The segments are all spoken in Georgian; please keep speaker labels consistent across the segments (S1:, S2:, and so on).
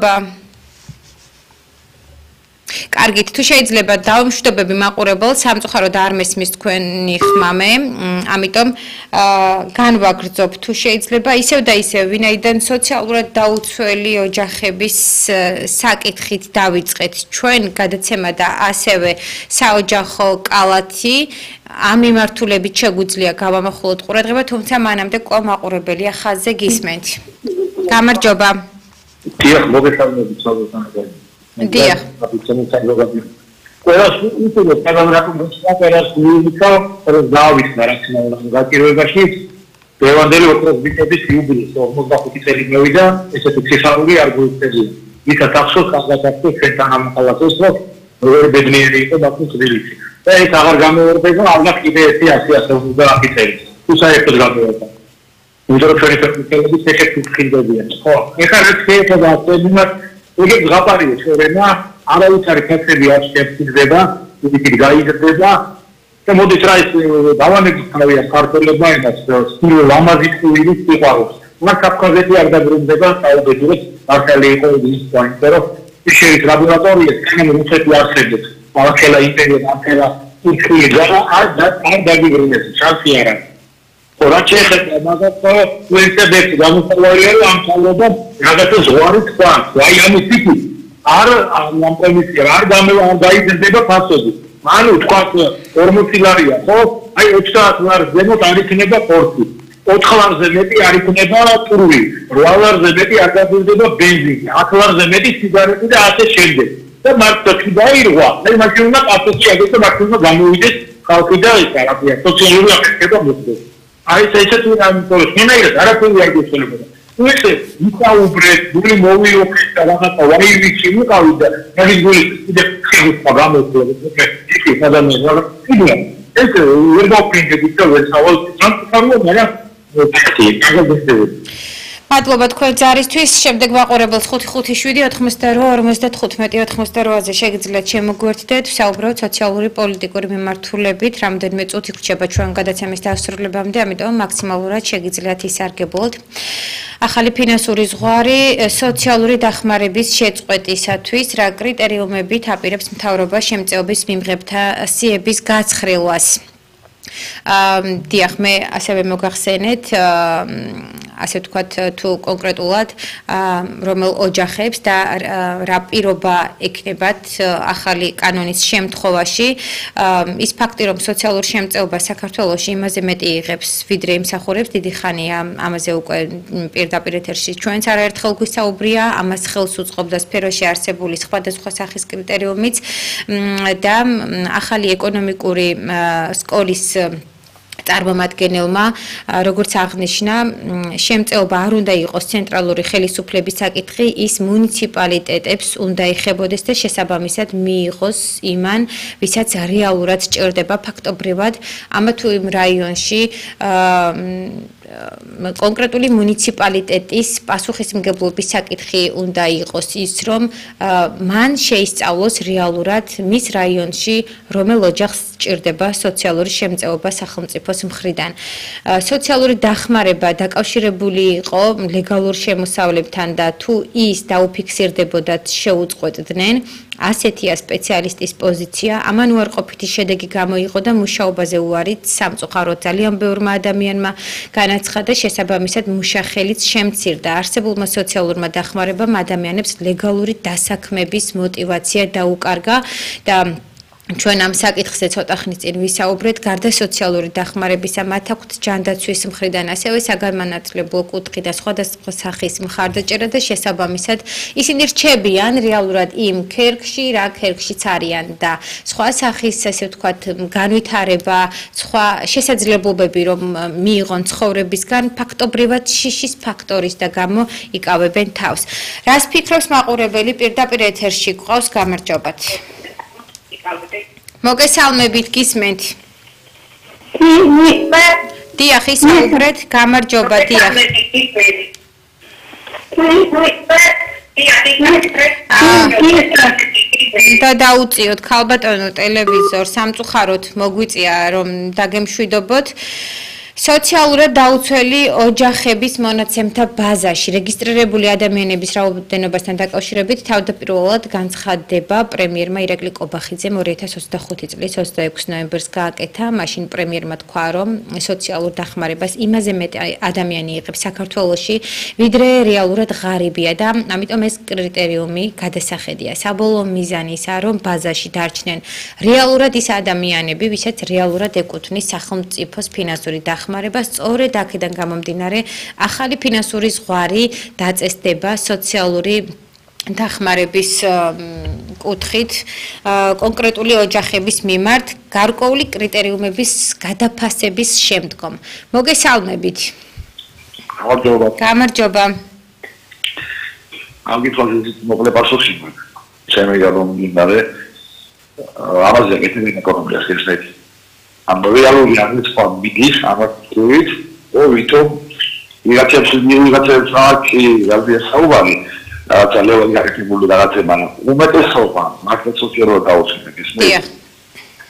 S1: გამარჯობა. კარგით, თუ შეიძლება დავამშვიდობები მაყურებელს, სამწუხაროდ არ მესმის თქვენი ხმამე, ამიტომ განვაგრძობ თუ შეიძლება ისევ და ისევ, ვინაიდან სოციალურად დაუცველი ოჯახების საკითხით დავიწყეთ ჩვენ გადაცემა და ასევე საოჯახო კალათი, ამ მიმართულებით შეგვიძლია გავამახვილოთ ყურადღება, თუმცა მანამდე კვლავ მაყურებელია ხაზზე გისმენთ. გამარჯობა.
S2: დიახ, მოგესალმებით საზოგადოებრივ.
S1: დიახ.
S2: ყველას უწევთ ყველას გულიკა დავისნა რაციონალურ გაკირვებაში დევანდელი ოქროს ბიტების იუბილეს 45 წელი მოვიდა ესეთი ციხარული არ გვიწევია იქა ახსოვს ხაზგასაცდელ ჩვენთან ამხალასოს როგორი ბედნიერი იყო ბაქოს თბილისი და ეს აღარ გამოვარდება ალბათ კიდე ერთი 100-150 წელი თუ საერთოდ გამოვარდა უძრო ჩვენი ფერმერების ესეთი ხილდებიან ხო ეხლა რაც შეიძლება ახსენოთ იგი ზღაპარია შორენა არავითარი ფაქტები არ შეფიქრდება, იგი გაიზრდება და მოდის რა ის დავანების თავია ქართველებმა იმას სტილ ლამაზი სტილის სიყვარულს. მას კაფკაზეთი არ დაბრუნდება საუბედურეთ მართალი იყო ის პოინტი, რომ ისეის ლაბორატორია თანამ რუსეთი არსებობს. ახლა იმპერია ახლა იქნება და არ დაგიბრუნებს ჩანსი არ არის. რა შეიძლება მაგათ უერთდებს გამოსავალია ამ თავრობა რაღაცა ზღვარი თქვა აი ამის ტიპი არ ამ კომისია არ გაიზრდება ფასოდი ანუ თქვა 40 ლარია ხო აი 30 ლარს ზემოთ არ იქნება პორტი 4 ლარზე მეტი არ იქნება ტური 8 ლარზე მეტი არ გაგვირდება ბენზინი 10 ლარზე მეტი სიგარეტი და ასე შემდეგ და მარტო დაირღვა აი მაშინ უნდა პასუხი აგდეს და მარტო გამოვიდეს ხალხი და ის არაფერია სოციალური აფეთქება მოხდეს აი ესეთი რამე შენაირად არაფერი არ გეცოლებოდა. თუ ესე მისაუბრეთ, გული მოვიოქეთ და რაღაცა ვაივიჩი მიყავი და მაგის გული კიდე ხება გამოწვევს. იქ ადამიანები კიდე ეს ვერ მოფინდები და ვერ სავალ სამწუხაროა, მაგრამ ფაქტია, გაგებსებოდი.
S1: მადლობა თქვენ ჯარისთვის. შემდეგ მაყურებელს 557-58-55-88-ზე შეგიძლიათ შემოგვერთდეთ, ვსაუბროთ სოციალური პოლიტიკური მიმართულებით, რამდენიმე წუთი ვრჩება ჩვენ გადაცემის დასრულებამდე, ამიტომ მაქსიმალურად შეგიძლიათ ისარგებლოთ. ახალი ფინანსური ზღვარი სოციალური დახმარების შეწყვეტისათვის რა კრიტერიუმებით აპირებს მთავრობა შემწეობის მიმღებთა სიების გაცხრილვას. დიახ, მე ასევე მოგახსენეთ, ასე ვთქვათ, თუ კონკრეტულად რომელ ოჯახებს და რა პირობა ექნებათ ახალი კანონის შემთხვევაში, ის ფაქტი, რომ სოციალურ შემწეობას საქართველოში იმაზე მეტი იღებს, ვიდრე იმსახურებს, დიდი ხანია ამაზე უკვე პირდაპირ ეთერში ჩვენც არაერთხელ გვისაუბრია, ამას ხელს უწყობდა სფეროში არსებული სხვადასხვა სახის კრიტერიუმიც და ახალი ეკონომიკური სკოლის წარმომადგენელმა, როგორც აღნიშნა, შემწეობა არ უნდა იყოს ცენტრალური ხელისუფლების საკითხი, ის მუნიციპალიტეტებს უნდა ეხებოდეს და შესაბამისად მიიღოს იმან, ვისაც რეალურად სჭირდება ფაქტობრივად ამა თუ იმ რაიონში კონკრეტული მუნიციპალიტეტის პასუხისმგებლობის საკითხი უნდა იყოს ის, რომ მან შეისწავლოს რეალურად მის რაიონში რომელ ოჯახს სჭირდება სოციალური შემწეობა სახელმწიფოს მხრიდან. სოციალური დახმარება დაკავშირებული იყო ლეგალურ შემოსავლებთან და თუ ის დაუფიქსირდებოდათ შეუწყვეტდნენ, ასეთია სპეციალისტის პოზიცია, ამან უარყოფითი შედეგი გამოიღო და მუშაობაზე უარით სამწუხაროდ ძალიან ბევრმა ადამიანმა განაცხადა, შესაბამისად მუშახელიც შემცირდა. არსებულმა სოციალურმა დახმარებამ ადამიანებს ლეგალური დასაქმების мотиваცია დაუკარგა და ჩვენ ამ საკითხზე ცოტა ხნის წინ ვისაუბრეთ, გარდა სოციალური დახმარებისა, მათ აქვთ ჯანდაცვის მხრიდან, ასევე საგანმანათლებლო კუთხი და სხვადასხვა სახის მხარდაჭერა და შესაბამისად ისინი რჩებიან რეალურად იმ ქერქში, რა ქერქშიც არიან და სხვა სახის, ასე ვთქვათ, განვითარება, სხვა შესაძლებლობები, რომ მიიღონ ცხოვრებისგან, ფაქტობრივად შიშის ფაქტორის და გამო იკავებენ თავს. რას ფიქრობს მაყურებელი პირდაპირ ეთერში გვყავს, გამარჯობათ. მოგესალმებით, გისმენთ. დიახ, ისაუბრეთ, გამარჯობა, დიახ. და დაუწიოთ ქალბატონო ტელევიზორს, სამწუხაროდ მოგვიწია რომ დაგემშვიდობოთ. სოციალურად დაუცველი ოჯახების მონაცემთა ბაზაში რეგისტრირებული ადამიანების რაოდენობასთან დაკავშირებით თავდაპირველად განცხადება პრემიერმა ირაკლი კობახიძემ 2025 წლის 26 ნოემბერს გააკეთა. მაშინ პრემიერმა თქვა, რომ სოციალურ დახმარებას იმაზე მეტი ადამიანი იღებს საქართველოში, ვიდრე რეალურად ღარიბია და ამიტომ ეს კრიტერიუმი გადასახედია. საბოლოო მიზანი ისაა, რომ ბაზაში დარჩნენ რეალურად ის ადამიანები, ვისაც რეალურად ეკუთვნის სახელმწიფოს ფინანსური დახმარება, სწორედ აქედან გამომდინარე, ახალი ფინანსური ზღვარი დაწესდება სოციალური დახმარების კუთხით კონკრეტული ოჯახების მიმართ გარკვეული კრიტერიუმების გადაფასების შემდგომ. მოგესალმებით. გამარჯობა.
S3: Angitwazit mogle pasosi. Ჩემი გამომდინარე ამაზე კეთილი ეკონომია შეიძლება. ამ რეალური აღწერა მიდის ამათქვით, ვითომ ვიღაცებს აქი რადია საუბარი, რაღაცა ლეველი გაკეთებული რაღაცება, უმეტესობა მართლაც სოციალურად დაუცველი ეს.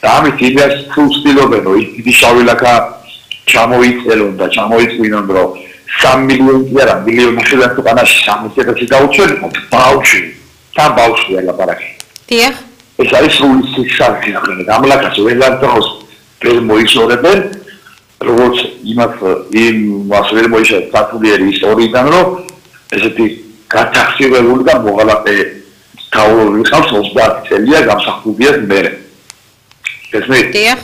S3: და ამით იდეას თუ ცდილობენ, რომ დიდი შავი ლაქა ჩამოიწელონ და ჩამოიწვინონ, რომ 3 მილიონი კი არა, მილიონი შეიძლება თუ ყანაში 300.000 დაუცველი, ბავშვი, თან ბავშვია ლაპარაკი.
S1: დიახ.
S3: ეს არის სრული სიხარული, ამ ლაქას ველარ დროს ვერ მოიშორებენ, როგორც იმას ვერ მოიშორებენ საფულიერი ისტორიიდან, რომ ესეთი გათახსირებული და მოღალატე თავი ხავს 30 წელია გამსახურდია მერე. ეს მე
S1: დიახ.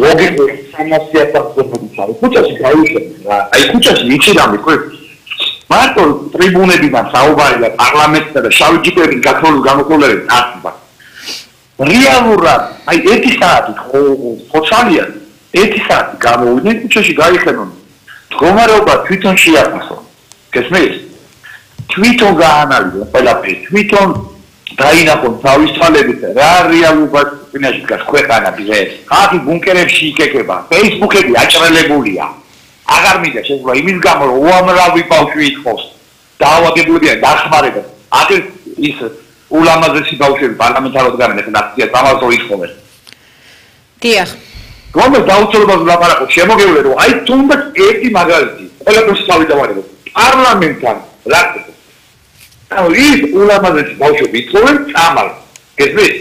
S3: ლოგიკურ სამასიათასობრივ ქუჩაში გაიშვება. აი ქუჩაში იცი რამე ხო? მარტო ტრიბუნებიდან საუბარი და პარლამენტსა და შავი ჯიპები გამოყოლებით აწება. რეალურად აი 1 საათი ხოჩალია 1 საათი გამოვიდნენ ქუჩაში გაიხენონ. მდგომარეობა თვითონ შეაფასო. გესმის? თვითონ გაანალიზა ყველაფერი. თვითონ დაინახონ თავის თვალებით რა რეალობას წინაშე დგას ქვეყანა დღეს. ხალხი ბუნკერებში იკეკება, Facebook-ები აჭრელებულია. აღარ მინდა შეიძლება იმის გამო რომ უამრავი ბავშვი ითხოვს დაავადებულია დახმარება. აქ ის ულამაზესი ბავშვები პარლამენტარად გამენახენ აქციას ამასო ითხოვენ. დიახ. რომელ დაუცველობას ვლაპარაკობ შემოგევლე რომ აი თუნდაც ერთი მაგალითი ყველაფერს თავი დავარებო. პარლამენტთან რა ის ულამაზესი ბავშვები ითხოვენ წამალ. გესმის?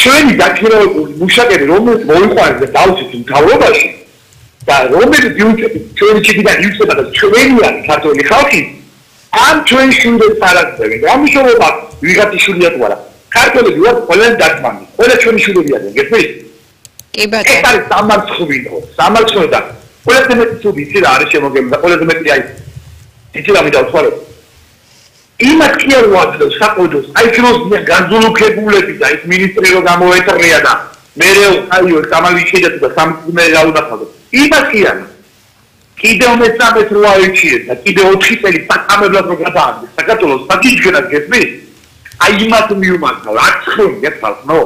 S3: ჩვენი დაქირავებული მუშაკები რომელიც მოიყვანეს და დავუცეთ მთავრობაში და რომელიც ჩვენი ჩიქიდან ივსება და ჩვენიანი ქართული ხალხი ამ ჩვენ შვილებს არაძლევენ. ამიშოვება ვიღაცი შვილია თუ არა. ქართველები ვართ ყველანი დაგმანი. ყველა ჩვენი შვილებია, გესმის?
S1: კი ბატონო.
S3: ეს არის სამარცხობინო. სამარცხობი და ყველაზე მეტი ცუდი იცი რა არის შემოგებული და ყველაზე მეტი აი იცი რა მინდა ვთქვა რომ იმათ კი არ ვაძლევს საყოველთაოდ აი ჩვენს განზულუქებულები და ის მინისტრი რო გამოეტრია და მერე აიო სამალი შეიძლება და სამწმე რა უნდა ხადო. იმათ კი არა. კიდევ მე-13 რო აიჩიეთ და კიდევ 4 წელი პატამებლად რო გადააგდეს საქართველოს პატიჟგენად გესმის? აი იმათ მიუმართა რა ცხონია თალხნო.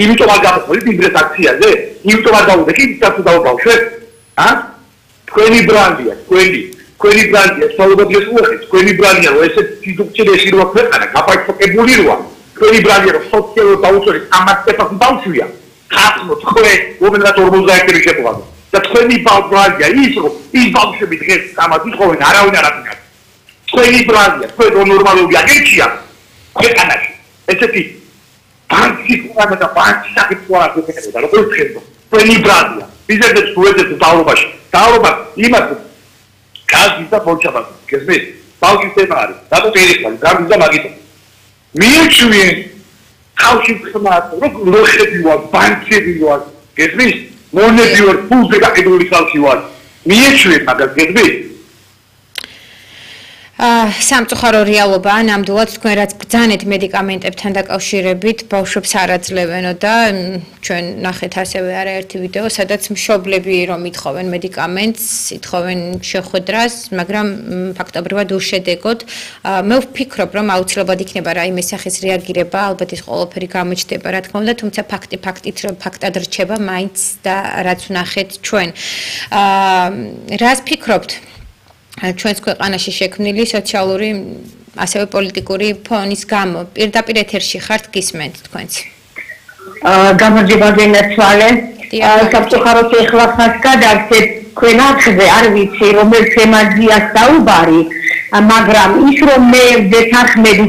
S3: იმიტომ არ გამოხდით იმ დღეს აქციაზე? იმიტომ არ დავუდე კი თასო დავბავშვეთ? თქვენი ბრანდია, თქვენი ბრანდია, სწორედ ეს უხეთ, თქვენი ბრანდია, რომ ესე სიდუქციაში რო ქვეყანა გაფართოებული როა. თქვენი ბრანდია, რომ სოციალურად დაუცველი 300.000 ბავშვია. ხათმო თქვენ რომელსაც 50 შეყვანო. და თქვენი ბრანდია ის რომ ის ბავშვები დღეს ამას ითხოვენ არავინ არ აკეთებს. თქვენი ბრანდია, თქვენ ნორმალური აგენცია ქვეყანაში. ესეთი ანტიკურა და პანჩაკიტურა გეკეთება, როგორ ხდება? თქვენი ბრანდია. ისედაც უეცეთ დავრობაში. დავრობა იმას გაზი და ბოჭაბა, გესმის? ბავშვის თემა არის. რატო ერიხარ, გაზი და მაგიტო. მიეჩვენ ხალხი ხმას, რო ხედი ვარ, ბანკები ვარ, გესმის? მონები ვარ, ფულზე გაყიდული ხალხი ვარ. მიეჩვენ მაგას, გესმის?
S1: სამწუხარო რეალობაა, ნამდვილად თქვენ რაც ბრძანეთ მედიკამენტებთან დაკავშირებით, ბავშვებს არ აძლევენო და ჩვენ ნახეთ ასევე არაერთი ვიდეო, სადაც მშობლები რომ ითხოვენ მედიკამენტს, ითხოვენ შეხვედრას, მაგრამ ფაქტობრივად უშედეგოდ. მე ვფიქრობ, რომ აუცილებლად იქნება რაიმე სახის რეაგირება, ალბათ ის ყველაფერი გამოჩნდება, რა თქმა უნდა, თუმცა ფაქტად რჩება მაინც და რაც ვნახეთ ჩვენ. რას ფიქრობთ? ჩვენს ქვეყანაში შექმნილი სოციალური ასევე პოლიტიკური ფონის გამო პირდაპირ ეთერში ხართ გისმენთ თქვენც.
S4: გამარჯობა გენაცვალე. სამწუხაროდ ეხლა ხას გადავცეთ თქვენ არხზე, არ ვიცი რომელ თემაზეა საუბარი, მაგრამ ის რომ მე ვძეთ ახმედი